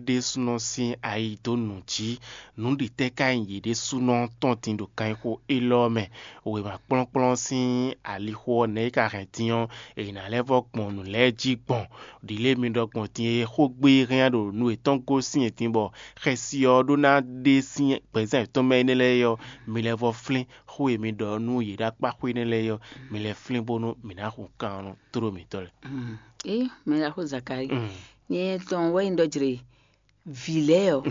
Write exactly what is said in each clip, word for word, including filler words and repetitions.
ɖésúnɔ sín ayi dó nǔ jí. Nǔ ɖi tɛ́ ka nyí yě ɖésúnɔ tɔn din ɖo kanxixo élɔ́ mɛ? Wěma kplɔ́nkplɔ́n sín alixo ɔ́, nɛ̌ é ka hɛn din ɔ́, è nǎ lɛ́ vɔ́ gbɔn nǔ lɛ́ɛ jí gbɔn? Ɖǐlé mi ɖɔ gbɔn din e xógbe hɛn ɖo nú yětɔn gosín e din bɔ xɛsi ɔ́ ɖó ná ɖe sín gbɛ̌zán yětɔn mɛ énɛ́ lɛ́ɛ é ɔ́, mi lɛ́ vɔ́ flín xó e mi ɖɔ nú yě ɖo akpá xwé énɛ́ lɛ́ɛ é ɔ́, mi lɛ́ flín bónú mǐ ná hun kan ɔ́ nú tló mǐtɔn lɛ́ɛ. Ée mɛ ɖaxó Zakalíi, nyɛ tɔn wɛ nyí ɖɔ jlé vǐ lɛ́ɛ ɔ́,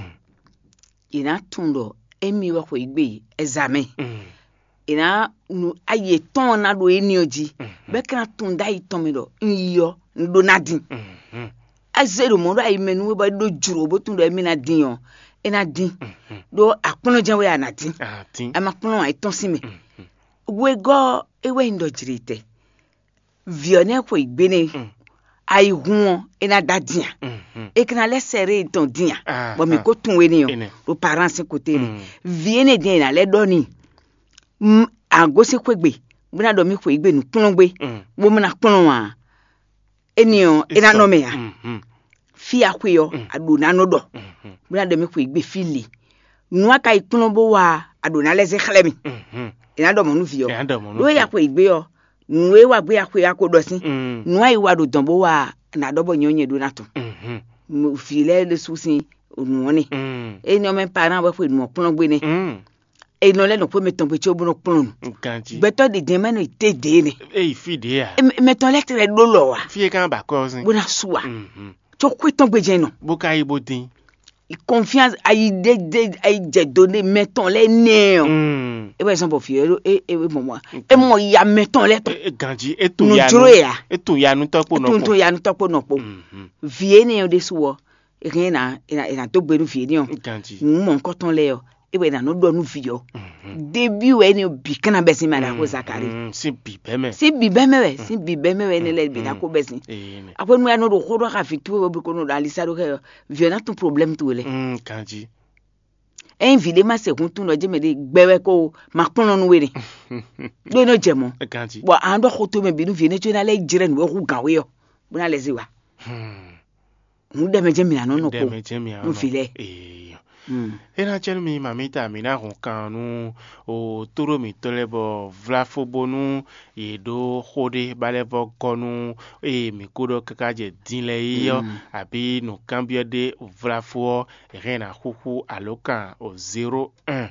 yě ná tunwun ɖɔ émí wɛ xweyǐgbe ɛzǎmɛ. È nǎ nu ayi yětɔn ná ɖo éní ɔ́ jí, bɔ é ka ná tunwun ɖó ayi tɔn mɛ ɖɔ un yi ɔ́, un ɖó ná din. É zé ɖo mɔ̌ ɖo ayi mɛ nú we bɔ é ɖó jlǒ bó tunwun ɖɔ émí ná din ɔ́, é ná din. Ɖó akplɔ́njɛ́n wɛ a nǎ din. A ma kplɔ́n ǎ, é tɔ́n sín mɛ. Wegɔ́ ɔ́, é wɛ nyí ɖɔ jlětɛ́. Vǐ ɔ́ nɛ́ xweyǐgbe nɛ́. Ayihún ɔ́, é ná dó adin ǎ. É ka ná lɛ́ sɛ ɖé tɔn din ǎ, bɔ mǐ ko tunwun we n'i ɔ́, ɖo parán sín kote nɛ́. Vǐ énɛ́ din e è nǎ lɛ́ ɖɔ n'i, agosín xwé gbe, bó ná ɖɔ mì xweyǐgbe nǔkplɔ́ngbé, bó mɔ ná kplɔ́n ǎ. Énɛ́ ɔ́, é ná nɔ mɛ ǎ. Fí a xwe ɔ́, a ɖǒ ná nɔ ɖɔ, bó ná ɖɔ mì xweyǐgbe fí le. Nǔ a ka yi kplɔ́n bó wa, a ɖǒ ná lɛ́ zé xlɛ́ mì. È nǎ ɖɔ mɔ̌ nú vǐ ɔ́. Ɖó e ya xweyǐgbe ɔ́, nǔ e wa gbé a xwe a ko ɖɔ sín. Nǔ a yi wa ɖo dɔ̌n bó wa, nǎ ɖɔ bɔ nyɛ ɔ́ nyɛ ɖó ná tɔn. Vǐ lɛ́ɛ ɖésú sín nǔ ɔ́ nɛ. Énɛ́ ɔ́ mɛ parán wɛ xwe nǔ ɔ́ kplɔ́n gbé nɛ́. È nɔ lɛ́ nɔ xwé mɛtɔn gbe có bó nɔ kplɔ́n nǔ. Ganjí. Gbɛtɔ́ ɖě din mɛ nɔ te ɖě nɛ. Eye fí ɖě a? Mɛtɔn lɛ́ tlɛ ɖó lɔ wa. Fí e kan ba kɔ ɔ́ sín. Bó ná su wa. Có xwé tɔn gbe jɛ́n nɔ. Bó ka yi bó dín. Confiance ayi ɖe ɖe ayi jɛ do ɖe mɛtɔn lɛ́ nɛ ɔ. E wɛ zɔn bɔ fi e e e mɔ mɔ e mɔ ya mɛtɔn lɛ tɔn. Ganji e tun ya nu, e tun ya nu tɔkpo nɔ kpo. Tun ya nu tɔkpo nɔ kpo. Vi e nɛ ɔ ɖe su ɔ, e hɛn na e na e na do gbe nu vi e nɛ ɔ. Ganji. Nu mɔ nkɔtɔn lɛ ɔ, e wɛ na nɔ ɖɔ nu vi ɔ. Debi wɛ ne bi kana bɛ sin ma da ko Zakari. Sin bi bɛ mɛ. Sin bi bɛ mɛ wɛ, sin bi bɛ mɛ wɛ ne lɛ bi na ko bɛ sin. Akwenu ya nɔ ɖo xó ɖɔ xa vi tu wɛ bi ko nɔ ɖo alisa ɖo kɛ ɔ, vi ɔ na tun problème tu lɛ. Ganji. Ényí vǐ ɖé ma se hun tunɔ jɛ́n mɛ ɖé gbɛ wɛ ko ma kplɔ́n nú we nɛ. Ɖó é nɔ jɛ mɔ̌. Ganji. Bɔ a nɔ ɖɔ xó towe mɛ bǐ nú vǐ énɛ́ có é ná lɛ́ jlɛ́ nǔ e hú gǎn we ɔ́, bó ná lɛ́ zé wa. Hǔn ɖɛ mɛ jɛ́n mǐ ná nɔ nɔ kpo. Ɖɛ mɛ jɛ́n mǐ ná nɔ nɔ. Nú vǐ lɛ́ɛ. Ee. É ná cɛ nú mi mamita mǐ ná hun kan nú o tóɖó mǐtɔn lɛ́ɛ bɔ vláfó bónú yě ɖó xó ɖé ba lɛ́ vɔ gɔ́ nú ée mǐ ko ɖɔ káká jɛ din lɛ́ɛ é ɔ́, abǐ nǔkanbyɔ́ ɖé vláfó ɔ́, è hɛn ná xúxú alǒkan o zéro un,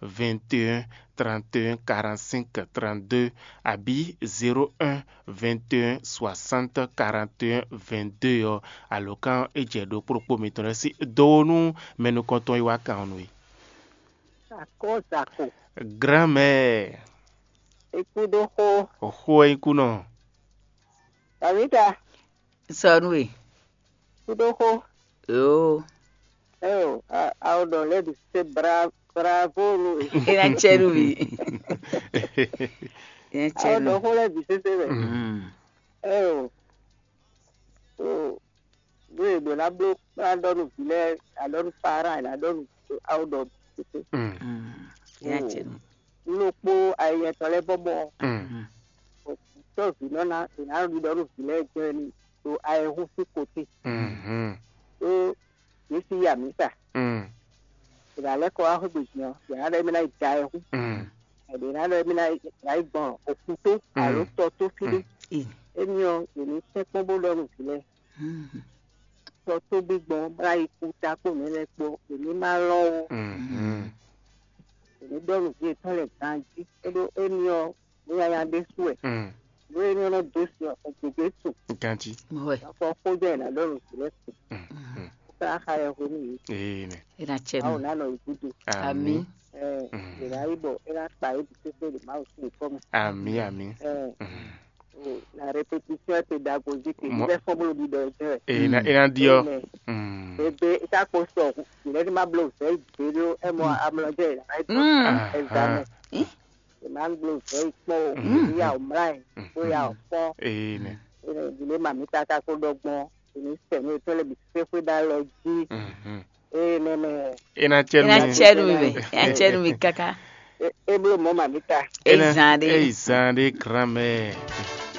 vingt et un, trente et un, quarante-cinq, trente-deux, abǐ zéro un, vingt et un, soixante, quarante et un, vingt-deux ɔ́, alǒkan é jɛ ɖokpó ɖokpó mitɔn lɛ́ɛ sí dó nú mɛ nukɔntɔn e wá kan ɔ́ nú é. Akɔ́ zako. Grand-mère. Ikú ɖó xó. Xó ɛ nyí kú nɔ. Tavita. Sɔ nú we. Ikú ɖó xó. Yoo. Eo, a a o ɖɔ lɛ́ bǐ se bra bravo nú we. E na cɛ nú mi. E na A cɛ o nú. Ɖɔ xó lɛ́ bǐ sésé mɛ. Mm. Eo. O. Nú e ɖǒ ná bló ná ɖɔ nú vǐ lɛ́ɛ, ná ɖɔ nú parán, ná ɖɔ nú awo ɖɔ tete. Mm. Mm. Yá cɛ nú. Nú ɖokpó ayɛyɛ tɔn lɛ́ɛ bɔ mɔ Mm. tɔ́ vǐ nɔ ná è nǎ ɖiɖɔ nú vǐ lɛ́ɛ jɛ́n ní ɖo ayɛhún sín kotí. Mhm. Ɖó yě sí yi amǐsa. Mm. È nǎ lɛ́ kɔ wá xwé gbe din ɔ́, è nǎ ɖɔ émí ná yi da ayɛhún. Mm. È nǎ ɖɔ émí ná yi gbɔn òkútó Mm. alo tɔ tó fí ɖé. Mm. Émi ɔ́, è ní sɛ́n kpɔ́n bó ɖɔ nú vǐ lɛ́ɛ. Mm. Tɔ tó gbígbɔn bó ná yi kú ta kpó nǔ énɛ́ kpó, è ní má lɔ́n ó. Mhm. È ní ɖɔ nǔ ví yětɔn lɛ́ɛ ganjí. É ɖó émi ɔ́, nǔ nyanya ɖésú wɛ. Mm. Nǔ e ní nɔ dó sin ɔ́, è gěgé su. Ganjí. Mɔ̌ wɛ. Afɔ xójɔ è nǎ ɖɔ nǔ ví lɛ́ɛ su. Mm. Mm. Ó ká xa yɛ hwe nú yě. Ee nɛ. É ná cɛ Awo nú. Ná nɔ yě gúdo. Ami. Ɛ Mm. È nǎ yi bɔ é ná kpa yě bǐ sésé ɖo Mawu sín nyǐkɔ mɛ. Ami, ami. Ɛ Mm. O, la répétition pédagogique, Mo- il est fort le leader. E na e na diɔ. Amen. Mm. Ebe ita ko sɔ, il est ma blo vɛ zéro, e mo amlɔjɛ la. Mm. Examen. Aha. E ma blo vɛ kpɔ, Mm. ya o mlai, ko ya o fɔ. Amen. E ne dile ma mi tata ko dɔgbɔn, e ni sɛ mi to le bi se ko da lɔ ji. Mhm. E nene. E na cɛ E na nu. Cɛ nu mi mɛ. E na cɛ nu mi kaka. E e blo mo ma mi ta. E na- Ezan ɖe. Ezan ɖe grand-mère.